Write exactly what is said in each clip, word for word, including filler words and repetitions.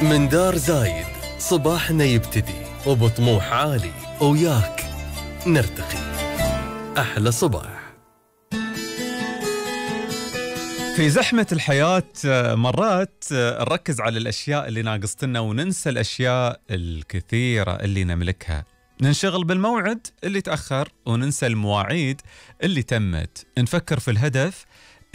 من دار زايد صباحنا يبتدي وبطموح عالي وياك نرتقي. أحلى صباح. في زحمة الحياة مرات نركز على الأشياء اللي ناقصتنا وننسى الأشياء الكثيرة اللي نملكها. ننشغل بالموعد اللي تأخر وننسى المواعيد اللي تمت. نفكر في الهدف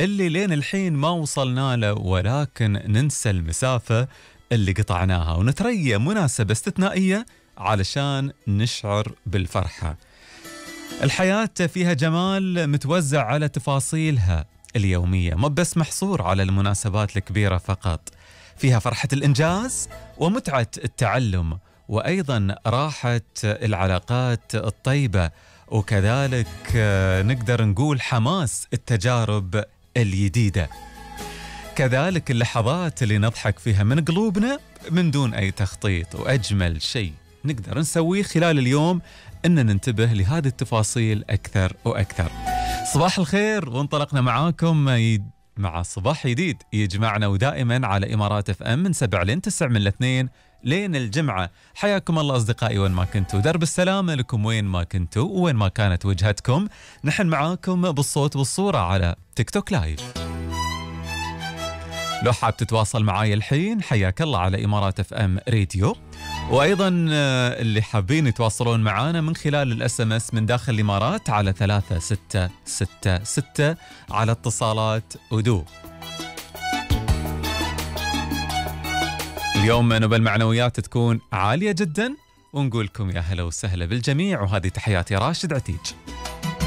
اللي لين الحين ما وصلنا له، ولكن ننسى المسافة اللي قطعناها، ونتريى مناسبة استثنائية علشان نشعر بالفرحة. الحياة فيها جمال متوزع على تفاصيلها اليومية، ما بس محصور على المناسبات الكبيرة فقط. فيها فرحة الإنجاز ومتعة التعلم، وأيضا راحة العلاقات الطيبة، وكذلك نقدر نقول حماس التجارب الجديدة. كذلك اللحظات اللي نضحك فيها من قلوبنا من دون أي تخطيط. وأجمل شيء نقدر نسويه خلال اليوم أن ننتبه لهذه التفاصيل أكثر وأكثر. صباح الخير، وانطلقنا معاكم مع صباح جديد يجمعنا ودائما على إمارات اف ام من سبع لين تسع، من الاثنين لين الجمعة. حياكم الله أصدقائي وين ما كنتوا، درب السلامة لكم وين ما كنتوا وين ما كانت وجهتكم. نحن معاكم بالصوت والصورة على تيك توك لايف. لو حاب تتواصل معاي الحين حياك الله على إمارات اف ام راديو، وأيضا اللي حابين يتواصلون معانا من خلال الاس ام اس من داخل الإمارات على ثلاثة ستة ستة ستة على اتصالات ودو. اليوم نبى المعنويات تكون عالية جدا، ونقولكم يا هلا وسهلا بالجميع، وهذه تحياتي راشد عتيج.